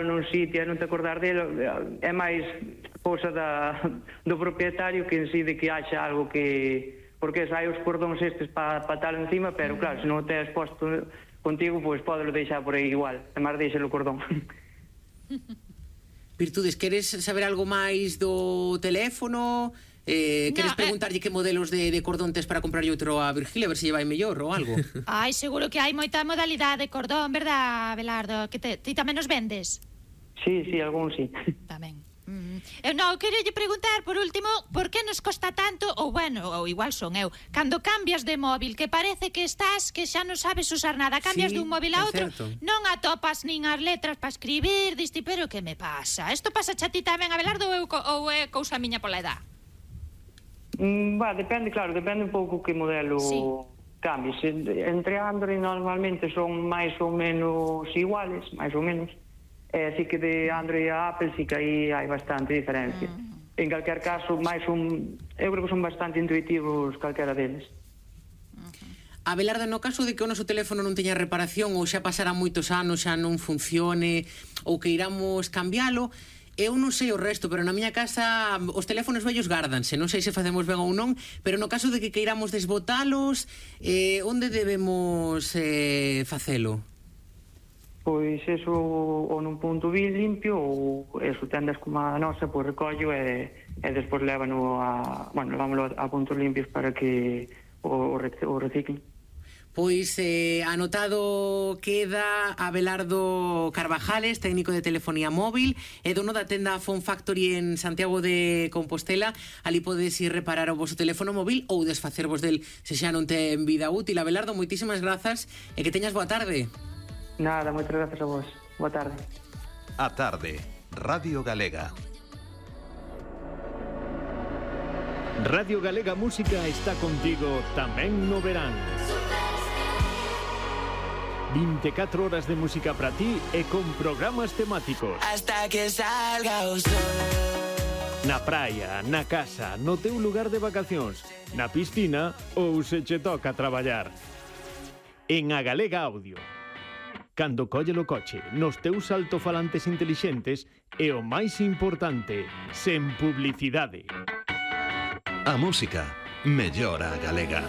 nun sitio e non te acordar dele, é máis cousa do propietario que en sí de que haxa algo que... Porque hai os cordóns estes para tal encima, pero claro, se non o tes posto contigo, pois podelo deixar por aí igual, además deixar o cordón. Virtudes, queres saber algo máis do teléfono? Queres preguntarlle que modelos de cordón tes para comprarlle outro a Virgilia, a ver se lle vai mellor ou algo? Ai, seguro que hai moita modalidade de cordón, verdad, Abelardo? Que ti tamén os vendes? Sí, algún sí. Tamén. Eu non, quero lle preguntar por último por que nos costa tanto, ou bueno, ou igual son eu, cando cambias de móvil, que parece que estás, que xa non sabes usar nada, cambias dun móvil a outro, non atopas nin as letras para escribir, diste, pero que me pasa? Isto pasa xa ti tamén, Abelardo, ou é cousa miña pola edad? Depende, claro, depende un pouco que modelo cambies. Entre Android normalmente son máis ou menos iguales, máis ou menos. Así que de Android a Apple sí que aí hai bastante diferencia. En calquer caso, eu creo que son bastante intuitivos calquera deles. Abelardo, no caso de que o noso teléfono non teña reparación ou xa pasará moitos anos, xa non funcione ou que iramos cambialo, eu non sei o resto, pero na miña casa os teléfonos vellos gárdanse, non sei se facemos ben ou non, pero no caso de que queiramos desbotalos, onde debemos facelo? Pois eso, ou nun punto bien limpio, ou eso, tendas como a nosa, pois recollo e despois levámoslo a puntos limpios para que o reciclen. Pois anotado queda Abelardo Carvajales, técnico de telefonía móvil e dono da tenda Phone Factory en Santiago de Compostela. Ali podes ir reparar o vosso teléfono móvil ou desfacervos del se xa non ten vida útil. Abelardo, moitísimas grazas e que teñas boa tarde. Nada, moitas grazas a vos. Boa tarde. A tarde, Radio Galega. Radio Galega Música está contigo tamén no verán. 24 horas de música para ti e con programas temáticos. Hasta que salga o sol. Na praia, na casa, no teu lugar de vacacións, na piscina ou se che toca traballar. En A Galega Audio. Cando colle o coche, nos teus altofalantes intelixentes e o máis importante, sen publicidade. A música mellora a galega.